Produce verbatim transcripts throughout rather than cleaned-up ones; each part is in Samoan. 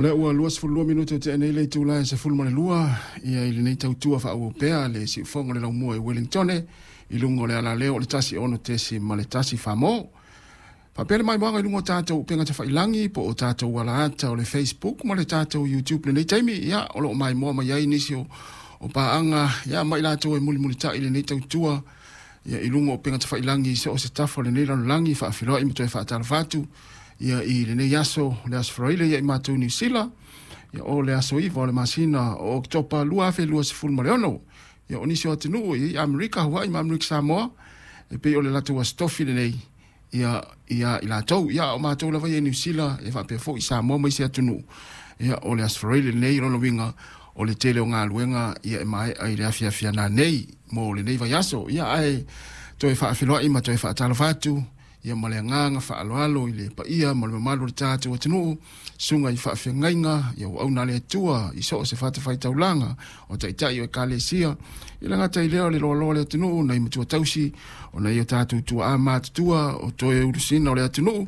O lea ua luasefulu lua minute ua tea nei le itula e sefulu ma le lua ia i lenei tautua faaauau pea le siufogo o le laumua i Wellingtone i luga o le alaleo o le tasi ono tesi ma le tasi famo. Faapea le maimoaga i luga o tatou upega tafailagi po o tatou alaata o le Facebook ma le tatou YouTube lenei taimi. Ia, o lo o maimoa mai ai nisi o, o paaga ia ma i latou e mulimulitai i lenei tautua ia i luga o upega tafailagi i so o se tafa o lenei lalolagi. Faafiloai ma toe faatalofa atu ia i lenei aso, le aso Faraile ia i matou Niu Sila, ia o le aso iva o le masina o Oketopa lua afe luasefulu ma le ono. Ia o nisi o atunuu i Amerika, Hawaii ma Amerika Samoa, e pei o le latou aso tofi lenei ia ia i latou. Ia o matou lava ia i Niu Sila e faapea foi i Samoa ma isi atunuu. Ia o le aso Faraile lenei, lona uiga o le tele o galuega ia e maea i le afiafi nanei mo lenei vaiaso. Ia ae toe faafiloai ma toe faatalofa atu ia ma le agaga faaaloalo i le paia ma le mamalu o le tatou atunuu, susuga i faafeagaiga, ia auauna a le Atua i so o se fatafaitaulaga, o taitai o ekalesia, i le gata i lea o le loaloa o le atunuu, nai matua tausi, o nai o tatou tuaa matutua, o toe ulusina o le atunuu,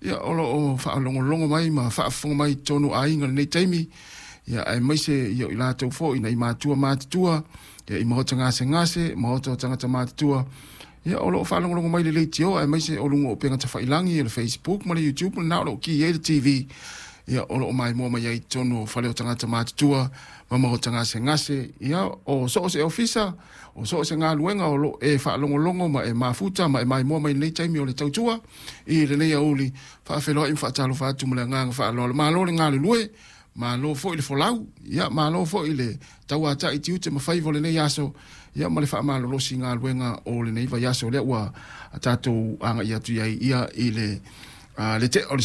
ia o lo o faalogologo mai ma faafofoga mai i totonu o aiga i lenei taimi, ia aemaise ia i latou foi nai matua matutua, ia i maota gasegase, maota o tagata matutua, ia o lo o faalogologo mai le leitio, aemaise o luga o upega tafailagi o le Facebook ma le YouTube lena o lo o ki ai le T V, ia o lo o maimoa mai ai i totonu o fale o tagata matutua ma maota gasegase, ia o so o se ofisa, o so o se galuega o lo e faalogologo ma e mafuta ma e maimoa mai lenei taimi o le tautua i lenei auli. Faafeloai ma faatalofa atu ma le agaga faaaloalo. Malo le galulue, malo foi le folau, ia malo foi le tauatai tiute ma faiva o lenei aso, ia ma le faamalolosi galuega o lenei vaiaso lea ua tatou agai atu ai ia i le le te o le